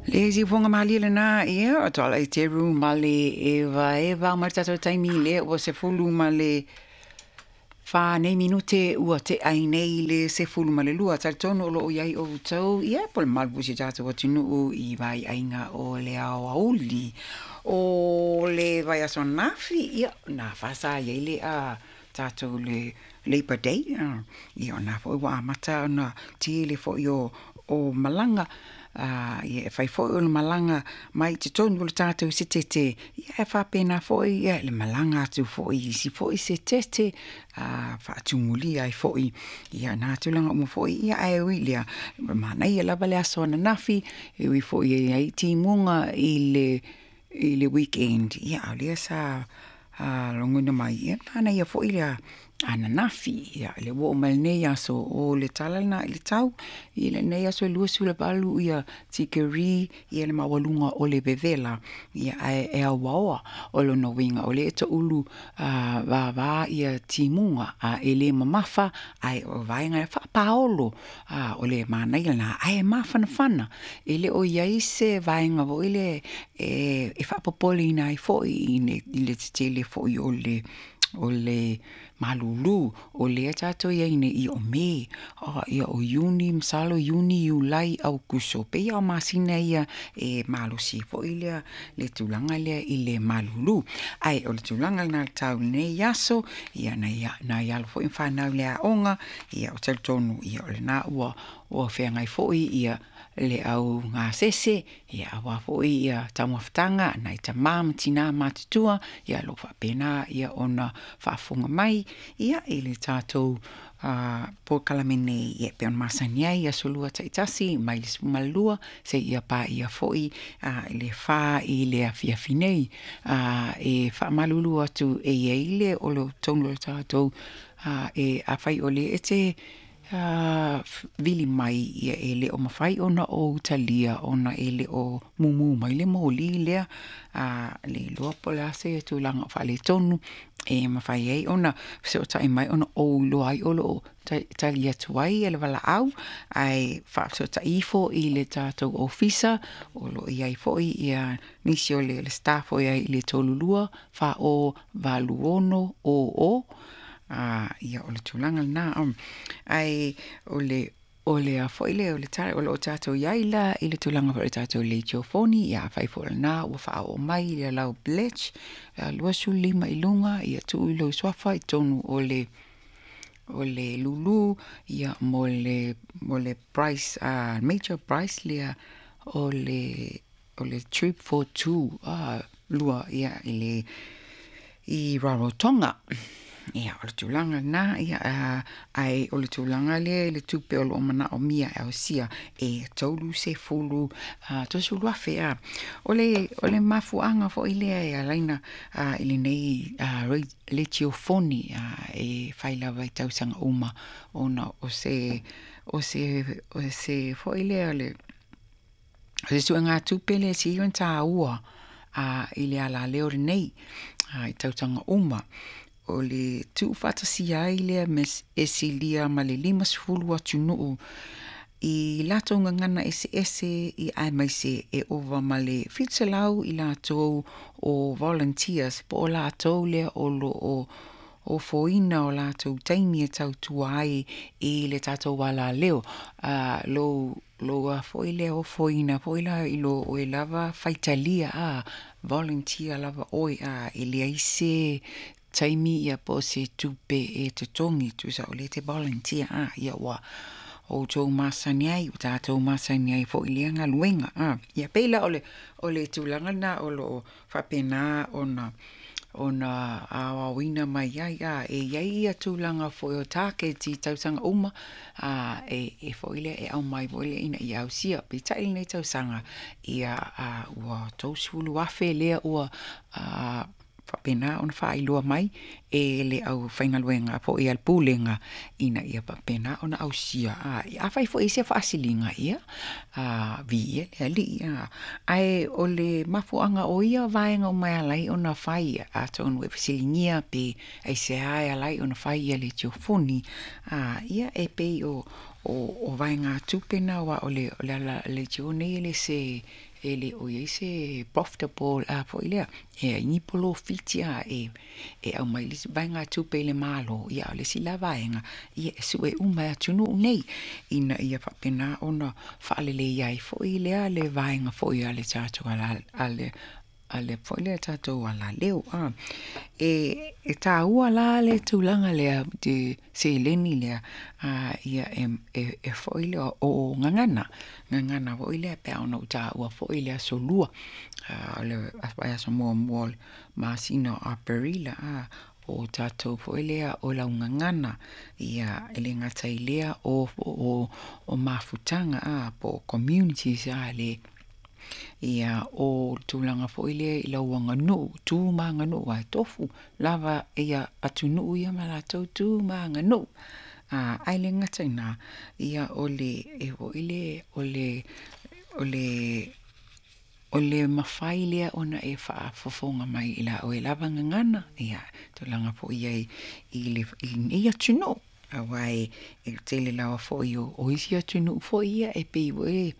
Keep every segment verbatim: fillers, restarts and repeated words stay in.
Le siufoga malie lenā, ia, o Tuala i Teru ma le Eva Eva ma le tatou taimi lea ua sefulu ma le fa nei minute ua tea ai nei le sefulu ma le lua. Talitonu o loo i ai outou, ia, po o le malu foi o si o tatou atunuu i vaiaiga o le aoauli o le vaiaso ananafi, ia, na fa sa i ai le a tatou le Labor Day, ia, o lena foi ua amata ona tele foi o o malaga, ia, e fai foi o le malaga mai totonu o le tatou Setete, ia, e faapena foi le malaga atu foi i isi foi Setete, a faatumulia ai foi ia na tulaga uma foi, ia, ae ui i lea, manaia lava le aso ananafi, e ui foi e i ai timuga i le i le weekend, ia, a o lea sa logona mai, ia, manaia foi le ananafi. Ia, le ua oo mai lenei aso o le tala lena i le tau i lenei aso e luasefuluvalu ia tikeri ia le maualuga o le vevela, ia, ae e auaoa. O lona uiga o lea e toulu vavā ia timuga, a e le mamafa, ae o vaega e faapaolo, a o le manaia lena ae mafanafana. E le o i ai se vaega foi lea e e faapopoleina ai foi i le tetele foi o le o le malulu o lea tatou i ai nei o Me, ia, o Iuni, masalo Iuni, Iulai, Aukuso, pei o masina ia e malosi foi lea le tulaga lea i le malulu. Ae o le tulaga lena i le tau i lenei aso, ia, nai nai alo foi ma fanau i le aoga, ia, o talitonu, ia, o lena ua ua feagai foi ia le au gasese, ia, aua foi ia taumafataga a nai tamā ma tinā matutua, ia, o lo o faapena ia ona faafofoga mai, ia, i le tatou polokalame nei, ia, e pei ona masani ai i aso Lua taitasi mai le sefulumalu seia paia foi le fa i le afiafi nei. E faamalulu atu e i ai le o lo totonu o le tatou e afai o lea e te vili mai, ia, e le o mafai ona ou talia ona e le o mumu mai le moli lea, a le iloa po o le a se tulaga o faaletonu e mafai ai ona fesootai mai ona ou iloa ai o lo o tali atu ai le valaau, ae faafesootai ifo i le tatou ofisa o lo o i ai foi ia nisi o le staff o i ai i le tolu lua, fa o, valu ono, o o. Ia, o le tulaga lena. Ae o le o le a foi lea o le tala o lo o tatou i ai la i le tulaga foi o le tatou leitiofoni, ia, afai foi o lena ua faaoo mai le lau pledge, luasefulu lima i luga, ia tuu i lou suafa i totonu o le o le lulu, ia, mo le mo le price, uh, major price lea o le o le trip for two, uh, lua, ia, i le i Rarotonga. Ia, o le tulaga lena, ia, ae o le tulaga lea i le tupe o lo o manaomia e ausia e tolu sefulu, tolusefulu afe a. O le o le mafuaaga foi lea e ala ai ona i lenei leitiofoni e fai lava i tausaga uma ona o se o se o se foi lea o le o se suegatupe lea e sili ona taua a i le alaleo lenei i tausaga uma o le tuufaatasia ai lea e silia ma le limasefulu atunuu i latou gagana eseese, ia, aemaise e ova ma le fitu selau i latou o volunteers po o latou lea o lo o ofoina o latou taimi e tautua ai i le tatou alaleo. A lou lou a foi lea ofoina foi la i lo oe lava faitalia a volunteer lava oe, a e leai se taimi, ia, po o se tupe e totogi, tusa o lea e te volunteer a, ia, ua outou masani ai, ua tatou masani ai foi i lea galuega a. Ia pei la o le o le tulaga lena o lo o faapena ona ona aoaoina mai ai a e i ai ia tulaga foi o taketi i tausaga uma a e e foi lea e aumai foi lea ina ia ausia. Peitai lenei tausaga, ia, a ua tolusefulu afe lea ua a faapena ona faailoa mai e le aufaigaluega foi a le Pulega ina ia faapena ona ausia. A afai foi i se faasiliga, ia, a viia le Alii a. Ae o le mafuaaga o ia vaega uma e ala ai ona fai, atonu e fesiligia pe aisea e ala ai ona fai ia leitiofoni, a ia, e pei o o o vaegatupe na uā o le o le ala leitio nei e le se e le o i ai se profitable a foi lea e ai ni polofiti a e e aumai le isi vaegatupe i le Malo. Ia a o le isi la vaega, ia e su'e uma e atunuu nei ina ia faapena ona faaleleia ai foi lea le vaega foi a le tatou a le a le foi lea tatou alaleo a. E e tāua la le tulaga lea te seleni lea a ia e e foi lea o gagana, gagana foi lea pe a ona ou tāua foi le aso Lua o le vaiaso muamua o le masina o Aperila a o tatou foi lea o laugagana ia e le gata i lea o o o mafutaga a po o communities a le ia o tulaga foi lea i lau aganuu, tu ma aganuu aua e tofu lava ia atunuu ia ma latou tu ma aganuu. A ae le gata i lena, ia o le e foi le o le o le o le mafai lea ona e faafofoga mai i la oe lava gagana, ia tulaga foi i ai i le i lenei atunuu aua e tele lava foi o o isi atunuu foi ia e pei foi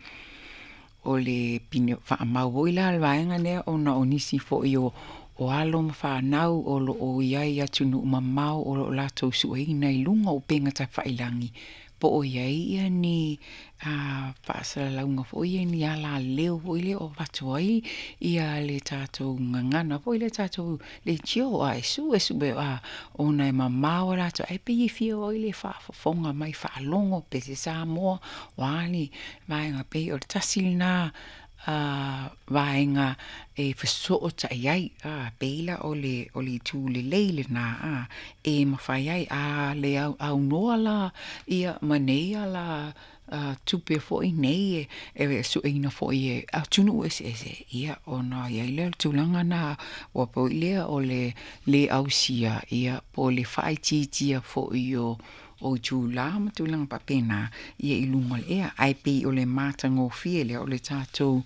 o le pine faamau foi la le vaega lea ona o nisi foi o o alo ma fanau o lo o i ai i atunuu mamao o lo o latou sueina i luga o upega tafailagi po o i ai ia ni a faasalalauga foi ia ni alaleo foi lea o avatu ai ia le tatou gagana foi lea tatou leitio a e sue sue a ona e mamao a latou ae pei e fia foi le faafofoga mai faalogo pe se Samoa o a ni vaega pei o le tasi lena a vaega e fesootai ai a pei la o le o le itu lelei lena a e mafai ai a le aunoa la ia ma nei ala tupe foi nei e sueina foi e atunuu eseese ia ona i ai lea o le tulaga lena ua pau lea o le lē ausia ia po o le faaitiitia foi o o itulā ma tulaga faapena ia i luga o le ea ae pei o le matagofie lea o le tatou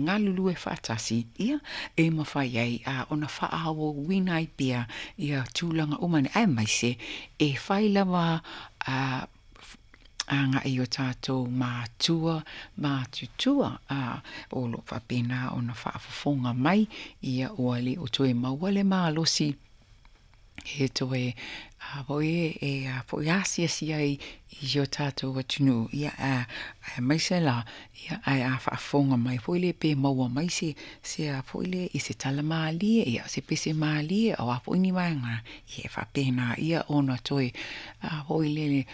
galulue faatasi ia e mafai ai a ona faaauauina ai pea ia tulaga uma nei aemaise e fai lava a agai i o tatou matua matutua a o lo o faapena ona faafofoga mai ia ua le o toe maua le malosi e toe a foi e a foi asiasi ai i si o tatou atunuu ia a aemaise la ia ae a faafofoga mai foi lea pe maua mai se se a foi lea i se tala malie ia se pese malie o a foi ni vaega ia e faapena ia ona toe a foi lele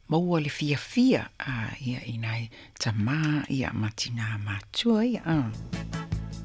maua le fiafia a ia i nai tamā ia ma tinā matutua ia a.